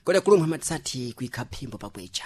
Kodi kulumwe matisati kuikha phimbo pakwecha.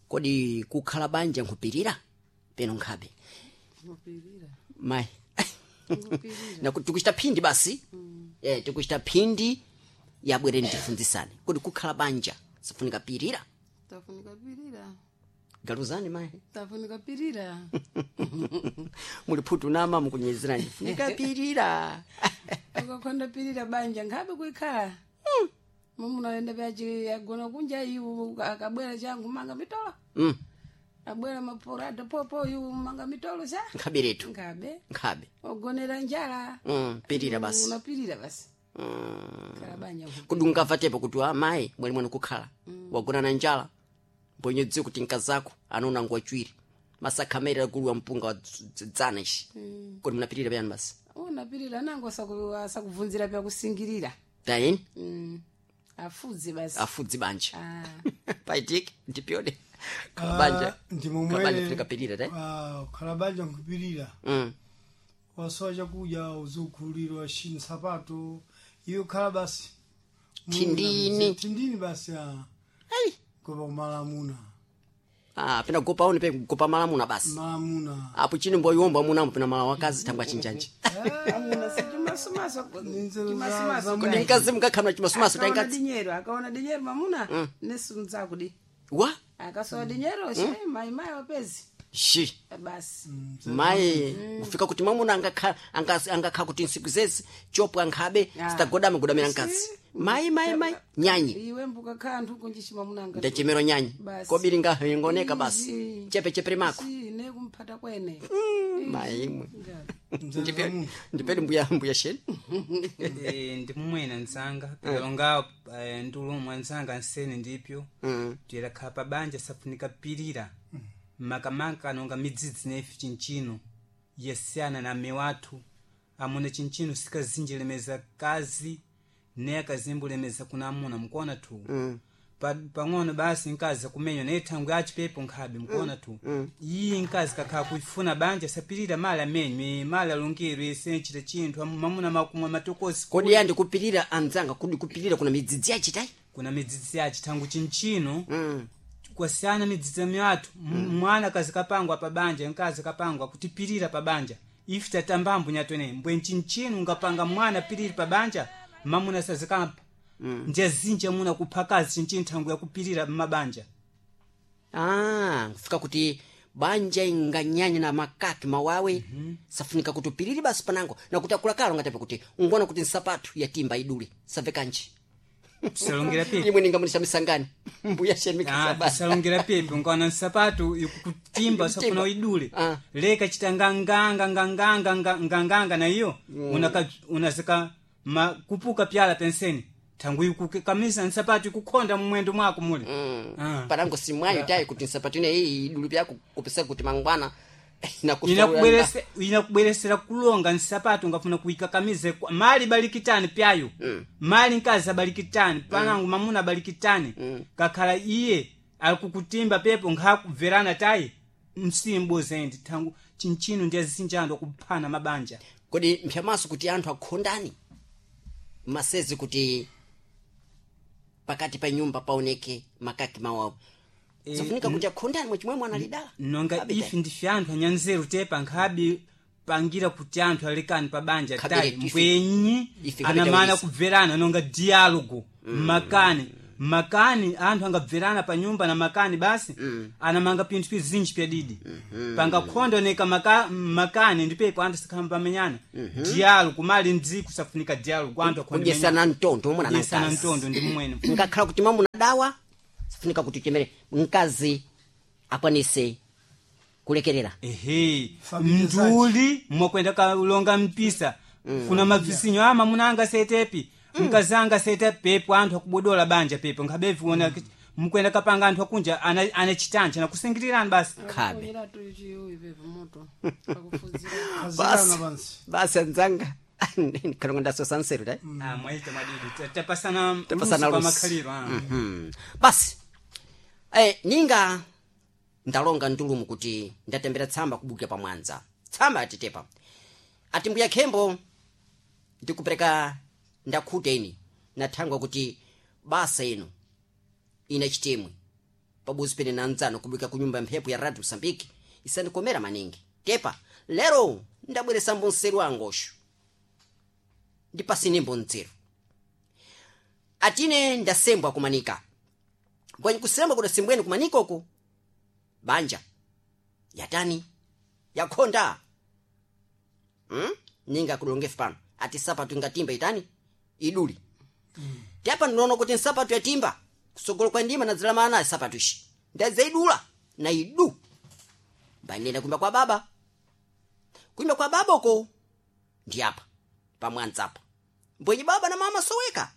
Kodi kukhala banja nkhupirira peno nkhabe? Kupirira. Mayi. Kupirira. Nakuti tikuchita phindi basi. Tikuchita phindi yabwereni tifunzisane. Kodi kukhala banja sifunika pirira? Tafunika pirira. Galuzani mayi. Tafunika pirira. Muli phutu nama mukunyezerani. Funika pirira. Ukakhonda pirira banja nkhabe kuikhala. Mumuna vyachi agona kunja iwu akabwera changu manga mitolo. Abwera maporado popo iwu manga mitolo sa. Nkhabe letu. Nkhabe. Nkhabe. Ogonera njala. Pirira basi. Unapirira basi. Khala banja. Kodi ungavatepo kuti amayi mwali mwanu kukhala wagona na njala mbonye dziwo kuti nkazako anaona ngwachwiri masakhamere agulu wa mpunga wa dzana ishi. Kodi munapirira payani basi? Unapirira nango asakubvunzira pyakusingirira. Tayeni. Afudze basi. Afudzi banja. Ah. Paitike ndipyode khala banja. Ndi Khala banja funika pirira te. Khala banja nkupirira. Wasowa chakudya uzukhulirwa shi nsapato iyo khala basi. Thindini. Thindini basi ah. Ai. Gopa kumalamuna. Ah, pena gopa one pe gopa malamuna basi. Malamuna. Apo chini mboyomba munamo pena mala wakazi thangwa chinjanji. Amuna si chimasumaso. Ninzelo Chimasumaso. Kodi mkazi mukakhamna chimasumaso Akaona taingatsi. dinyero, akaona dinyero mamuna nesunzakudi. Wa? Akasowa dinyero she mai mai wapezi. Shi. Basi. Mayi kufika kuti mwamuna angakha angakha kuti nsiku zezi chopwa nkhabe Ah. sitagodama godamira mkazi. Mayi mayi mayi nyanyi. Iwe mbuka kanthu kunjishi mamuna anga. Ndachemero nyanyi. Basi. Kobiri ngaho ingoneka basi. Izi. Chepe chepere mako. Si ne kumphata kwene. Mayi imwe. Mzee. Ndipedi mbuya mbuya sheni. Ndi mumwena nzanga pikalonga ndulumwa nzanga nsene ndipyo. Tuyelakhala pa banja safunika pirira makamaka nonga midzidzi nefe chinchino yasiyana na mme wathu amuna chinchino sikazinjilemeza kazi ne akazimbulemeza kuna amuna mukuona tu. Pang'ono basi nkazi akumenywa naye thangwi achipepo nkhabe mukuona tu. Iyi nkazi kakhala kuifuna banja sapirira mali amenywe mali alungirwe senchita chinthu mamuna makumwa matokosi. Kodi ya ndikupirira anzanga kodi kupirira kuna midzidzi yachitai? Kuna midzidzi yachi thangu chinchino. Kwasiyana midzidzi myathu. Mwana kazi kapangwa pa banja nkazi kapangwa kutipirira pa banja ife tatambambo nyatwene mbwe nchinchino ungapanga mwana piriri pa banja mamuna sazikampa. Njazinji amuna kuphakazi chinchino thangu yakupirira mmabanja. Ah, kufika kuti banja inganyanya na makaki mawawe. Safunika kuti upirire basi panango nakuti akulakalo ngatepe kuti ungona kuti nsapatu yatimba idule save kanji. Tisalongera pepe. Imwe ningamunisha misangani mbuya sheni Ah, mikasaba. tisalongera pepe unkaona nsapatu ikukutimba usafuna uidule. Ah. Leka chita nganganga nganganga nganganga na iyo unazika kupuka pyala penseni thangu ikukamisa nsapatu ikukhonda mumwendo mwako mule. Ah. Panango simwayo tayi kuti nsapatu ine iyi idule pyako kupesa kuti mangwana Inakubweresera kulonga nsapatu ungafuna kuikakamize mali balikitani pyayo. Mali nkazi abalikitani panangu mamuna abalikitani. Kakhala iye alikukutimba pepo nkhakubverana tayi msimbo zendi thangu chinchino ndi azinjando kuphana mabanja. Kodi mphyamaso kuti anthu akhondani masezi kuti pakati pa nyumba paoneke makaki mawawo safunika kuti akhondani mwachimwemwe mwana lidala nonga Abe ife tayi. ndife anthu anyanzeru tepa nkhabi pangira kuti anthu alekani pa banja Khabire tayi ife- mbwenyi ife khabire anamana tawisa. kubverana nonga dialogo makani makani anthu angabverana pa nyumba na makani basi. Anamanga pinthu pizinji pyadidi pangakhonda oneka makani ndipepo anthu sakhamba pamenyana. Dialogo mali ndziku safunika dialogo anthu akhonde Kudyesana mtondo omwe kudyesana mtondo ndi mmwene. Ngakhala kuti mwamuna dawa safunika kuti chemere mkazi akwanise kulekerera. Ehe. Familia Mnduli mwakwenda kalonga mpisa kuna mavisinyo ama munanga setepi mkazanga sete pepo anthu akubodola banja pepo nkhabevi kuona mukwenda kapanga anthu akunja ana chitancha nakusingirirani basi. Khabe. Kunyera tu chiuyi pepo moto. Pakufudzira. Kazikana pansi. Basi anzanga kalonga ndasosa nseru tayi. Ah, mwaita mwadidi tapasana Tapasana luso pa luso. makhaliro ah. Basi ninga ndalonga ndulumu kuti ndatembera tsamba kubukira pamwanza tsamba atitepa ati mbuya khembo ndikupereka ndakhuta ini nathangwa kuti Basa ino ina chitemwe pabuzi pene na nzano kubwika ku nyumba ya mphepo ya Radio Mosambiki isandikomera maningi. Tepa lero ndabweresambo nseru angosho ndipasinimbo nzeru atine ndasembwa kumanika kwenye kusembwa kudasembweni kumanika uku banja yatani yakhonda ninga kudongefu pano ati sapatu ingatimba itani iduli tepa ndinoona kuti nsapatu yatimba kusogolo kwa ndima nadzilamana naye sapatu ishi ndadzaidula na idu mbanenda kuimba kwa baba kuimba kwa baba uko ndi apa pamwanza apa mbwenye baba na mama soweka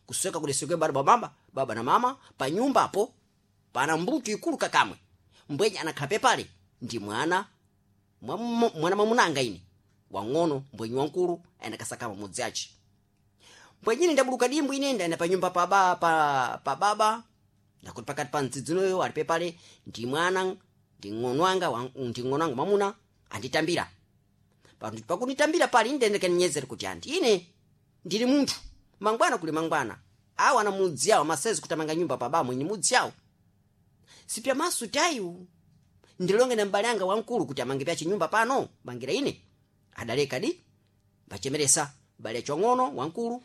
kusweka kudesekwe baba baba baba na mama pa nyumba apo pana mbuto ikulu kakamwe mbwenye anakhala pale ndi mwana mwana mwamunanga ine wang'ono mbwenye wankulu ayendakasakama mudzi ace mbwenyine ndabuluka dimbu ine ndayenda pa nyumba pa, ba, pa, pa baba ndakuti pakati pa mdzidzinoyo ali pepale ndi mwana ndi ng'ono anga ndi ng'ono anga mwamuna anditambira pakunditambira pali ndendekaninyezere kuti anti ine ndili munthu mangwana kuli mangwana awa ana mudzi awo masezi kutamanga nyumba pa baba mwenye mudzi awo sipya masu tayu ndilonge na mbale anga wamkulu kuti amange pyache nyumba pano mangira ine adaleka di mbachemeresa mbale yacho wang'ono wamkulu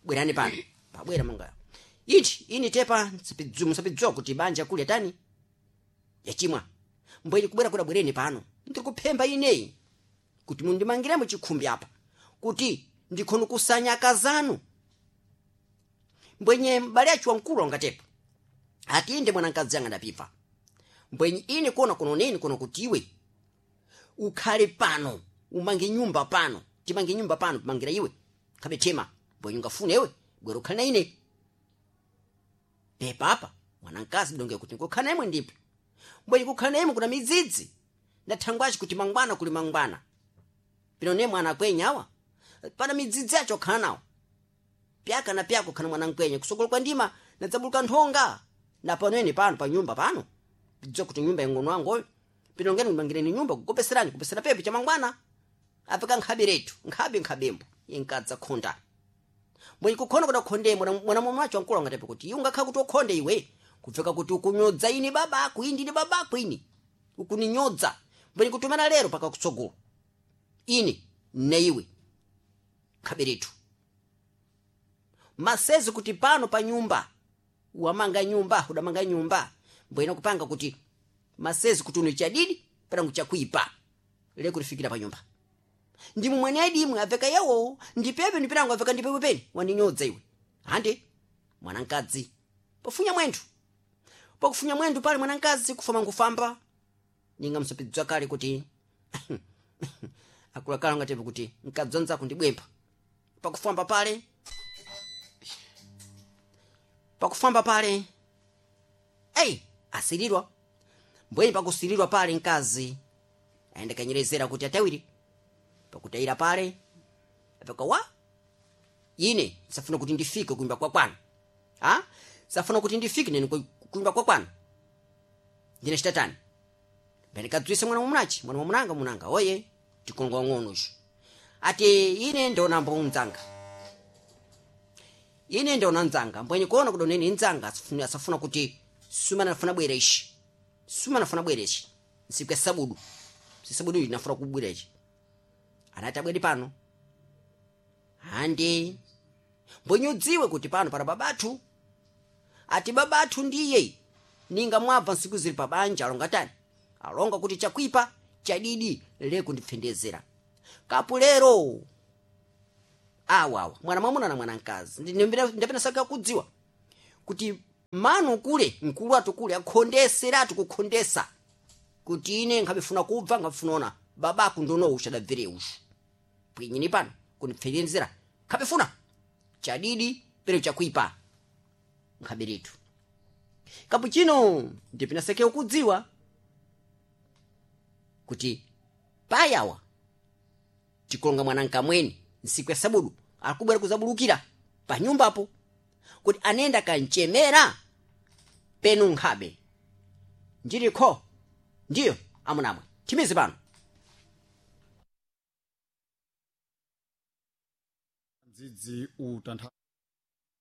bwerani pano pabwera manga ichi ini tepa musapidziwa kuti banja kuli atani yachimwa mbwenye kubwera kuda bwereni pano ndikuphemba ineyi kuti mundimangiremo chikhumbi apa kuti ndikhono kusanya akazanu mbwenye mbale yacho wamkulu angatepa ati inde mwanamkazi anga ndapipha mbwenye ine kuona kuno neni kuno kuti iwe ukhale pano umange nyumba pano timange nyumba pano timangira iwe khabe tema mbwenye ungafune iwe bwera ukhale na ine pepa apa mwanamkazi donge kuti nkukhala na imwe ndipo mbwenye kukhala na imwe kuna midzidzi ndathangwaci kuti mangwana kuli mangwana pino ne mwana akwenya awa pana midzidzi yacho okhala nawo pyaka na pyaka ukhana mwana mkwenye kusokolo kwa ndima nadzabuluka nthonga na pano ene pano pa nyumba pano pidziwa kuti nyumba ing'ono wangoyo pino ngeni kumangireni nyumba kukopeserani kupesera pepe cha mangwana apeka nkhabe letu nkhabe nkhabembo inkadza khonda mbwenye kukhonda kuda khonde mwana mwana wacho wankulu angatepe kuti iwe ungakhala kuti ukhonde iwe kupfeka kuti ukunyodza ini babako ini ndine babako ini ukuninyodza mbwenye kutumana lero paka kutsogolo ine ne iwe nkhabe letu masezi kuti pano pa nyumba wamanga nyumba udamanga nyumba mbwena kupanga kuti masezi kuti uno chadidi panangu chakuipa lekulifikira pa nyumba ndimwe mwene adimwe aveka yawo ndipepe ndiperangu aveka ndipepe peni wandinyodza iwe hande mwanamkazi pofunya mwenthu pakufunya mwenthu pale mwanamkazi kufama nkufamba ninga msopidzwa kale kuti akulakala ngatepe kuti mkadzi wanzako ndibwempha pakufamba pale pakufamba pale ei asirirwa mbweni pakusirirwa pale mkazi aenda kanyerezera kuti atawiri pakutayira pale apaka wa ine safuna kuti ndifike kuimba kwa kwanu ha safuna kuti ndifike nene kuimba kwa kwanu ndine chitatani mbene kadzwise mwana mwamunachi mwana mwamunanga munanga oye tikongo ng'ono icho ati ine ndona mbonzanga ine ndona nzanga mbwenye kuona kudoneni nzanga asafuna kuti suma nafuna bwera ishi suma nafuna bwera ishi nsiku ya sabudu sisabudu iyi nafuna kubwera ichi anati abwere pano handi mbwenye udziwe kuti pano para babathu ati babathu ndiye ninga mwabva nsiku zili pabanja alonga tani alonga kuti chakwipa chadidi lekundipfendezera kapu lero awawa mwana mwamuna na mwana mkazi ndapena saka kudziwa kuti manu kule mkulu atu kule akhondeseratu kukhondesa kuti ine nkhabifuna kubva nkhabifuna ona babaku ndono ushadabvere ushu pwinyini pano kundipfendezera nkhabifuna chadidi pero chakuipa nkhaberetu kapu chino ndipena sake kudziwa kuti payawa tikulonga mwana nkamweni nsiku ya sabudu akubwera kuzabulukira pa nyumbapo kuti anenda kanchemera penu nkhabe ndilikho ndiyo amunamwe timizi pano mdzidzi utantha